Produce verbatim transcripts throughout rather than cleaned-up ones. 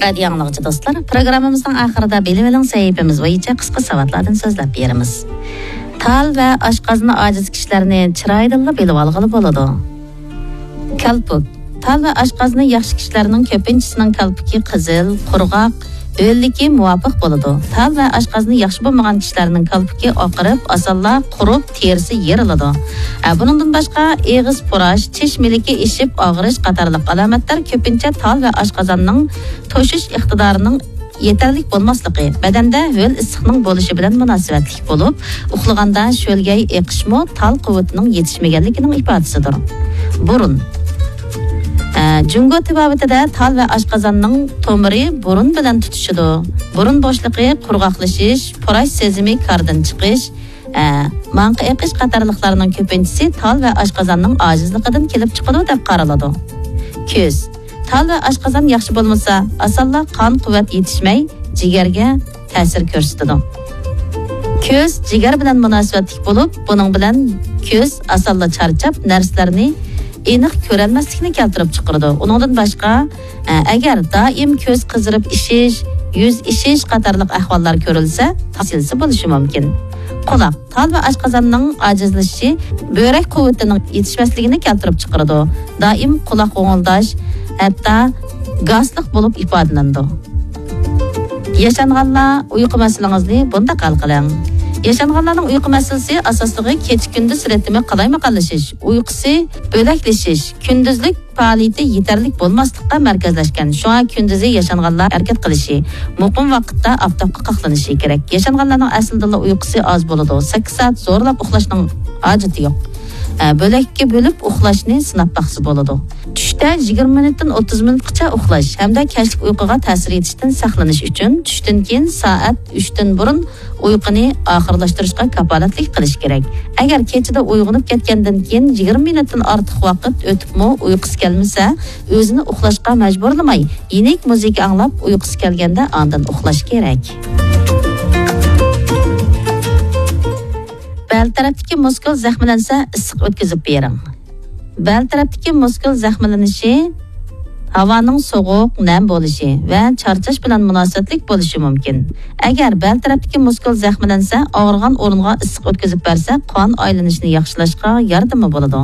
رادىيو ئاڭلىغۇچى دوستلار، پروگراممىمىزنىڭ ئاخىرىدا بىلىۋېلىڭ سەھىپىمىز بويىچە قىسقا ساۋاتلاردىن سۆزلەپ بېرىمىز. تال ۋە ئاشقازىنى ئاجىز كىشىلەرنى چىرايىدىنلا بىلىۋالغىلى بولىدۇ. كالپۇك. تال ۋە ئاشقازىنى ياخشى كىشىلەرنىڭ كۆپىنچىسىنىڭ كالپۇكى قىزىل، قۇرغاق، ھۆللۈكى مۇۋاپىق بولىدۇ. تال ۋە ئاشقازىنى ياخشى بولمىغان كىشىلەرنىڭ كالپۇكى ئاقىرىپ، ئاسانلا قۇرۇپ، تېرىسى يېرىلىدۇ. ھە، بۇنىڭدىن باشقا، ئېغىز پۇراش، چىش مىلىكى ئېشىپ ئاغرىش قاتارلىق ئالامەتلەر كۆپىنچە تال ۋە ئاشقازاننىڭ توشۇش ئىقتىدارىنىڭ يېتەرلىك بولماسلىقى، بەدەندە ھۆل ئىسسىقنىڭ بولۇشى بىلەن مۇناسىۋەتلىك بولۇپ، ئۇخلىغاندا شۆلگەي ئېقىشمۇ تال قۇۋۋىتىنىڭ يېتىشمىگەنلىكىنىڭ ئىپادىسىدۇر. بۇرۇن. ئە، جۇڭگو تېبابىتىدە تال ۋە ئاشقازاننىڭ تومۇرى بۇرۇن بىلەن تۇتىشىدۇ. بۇرۇن بوشلۇقى، قۇرغاقلىشىش، پۇراش سېزىمى كاردىن چىقىش، ئە، ماڭقا ئېقىش قاتارلىقلارنىڭ كۆپىنچىسى تال ۋە ئاشقازاننىڭ ئاجىزلىقىدىن كېلىپ چىقىدۇ دەپ قارىلىدۇ. كۆز. تال ۋە ئاشقازان ياخشى بولمىسا، ئاسانلا قان قۇۋۋەت يېتىشمەي، جىگەرگە تەسىر كۆرسىتىدۇ. كۆز جىگەر بىلەن مۇناسىۋەتلىك بولۇپ، بۇنىڭ بىلەن كۆز ئاسانلا چارچاپ، نەرسىلەرنى ئېنىق كۆرەلمەسلىكنى كەلتۈرۈپ چىقىرىدۇ. ئۇنىڭدىن باشقا، ئە، ئەگەر دائىم كۆز قىزىرىپ ئىشىش، يۈز ئىشىش قاتارلىق ئەھۋاللار كۆرۈلسە، تال سىلسە بولۇشى مۇمكىن. قۇلاق. تال ۋە ئاشقازاننىڭ ئاجىزلىشىشى بۆرەك قۇۋۋىتىنىڭ يېتىشمەسلىكىنى كەلتۈرۈپ چىقىرىدۇ. دائىم قۇلاق غوڭۇلداش، ھەتتا گاسلىق بولۇپ ئىپادىلىنىدۇ. ياشانغانلار، ئۇيقۇ مەسىلىڭىزنى بۇنداق ھەل قىلىڭ. ياشانغانلارنىڭ ئۇيقۇ مەسىلىسى ئاساسلىقى كېچە-كۈندۈز رىتىمى قالايمىقانلىشىش، ئۇيقۇسى بۆلەكلىشىش، كۈندۈزلۈك پائالىيىتى يېتەرلىك بولماسلىققا مەركەزلەشكەن. شۇڭا كۈندۈزى ياشانغانلار ھەرىكەت قىلىشى، مۇقىم ۋاقىتتا ئاپتاپقا قاقلىنىشى كېرەك. ياشانغانلارنىڭ ئەسلىدىلا ئۇيقۇسى ئاز بولىدۇ. سەككىز سائەت زورلاپ ئۇخلاشنىڭ ھاجىتى يوق. ئە، بۆلەككە بۆلۈپ ئۇخلاشنى سىناپ باقسا بولىدۇ. چۈشتە يىگىرمە مىنۇتتىن ئوتتۇز مىنۇتقىچە ئۇخلاش ھەمدە كەچلىك ئۇيقۇغا تەسىر يېتىشتىن ساقلىنىش ئۈچۈن چۈشتىن كېيىن سائەت ئۈچتىن بۇرۇن ئۇيقۇنى ئاخىرلاشتۇرۇشقا كاپالەتلىك قىلىش كېرەك. ئەگەر كېچىدە ئويغىنىپ كەتكەندىن كېيىن يىگىرمە مىنۇتتىن ئارتۇق ۋاقىت ئۆتۈپمۇ ئۇيقۇسى كەلمىسە، ئۆزىنى ئۇخلاشقا مەجبۇرلىماي، يېنىك مۇزىكا ئاڭلاپ ئۇيقۇسى كەلگەندە ئاندىن ئۇخلاش كېرەك. بەل تەرەپتىكى مۇسكۇل زەخىملەنسە ئىسسىق ئۆتكۈزۈپ بېرىڭ. بەل تەرەپتىكى مۇسكۇل زەخىملىنىشى ھاۋانىڭ سوغۇق، نەم بولۇشى ۋە چارچاش بىلەن مۇناسىۋەتلىك بولۇشى مۇمكىن. ئەگەر بەل تەرەپتىكى مۇسكۇل زەخىملەنسە، ئاغرىغان ئورۇنغا ئىسسىق ئۆتكۈزۈپ بەرسە، قان ئايلىنىشىنى ياخشىلاشقا ياردىمى بولىدۇ.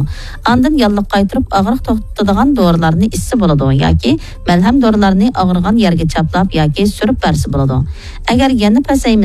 ئاندىن ياللۇغ قايتۇرۇپ، ئاغرىق توختىتىدىغان دورىلارنى ئىچسە بولىدۇ ياكى مەلھەم دورىلارنى ئاغرىغان يەرگە چاپلاپ ياكى سۈرۈپ بەرسە بولىدۇ. ئەگەر يەنە پەسەيمىسە،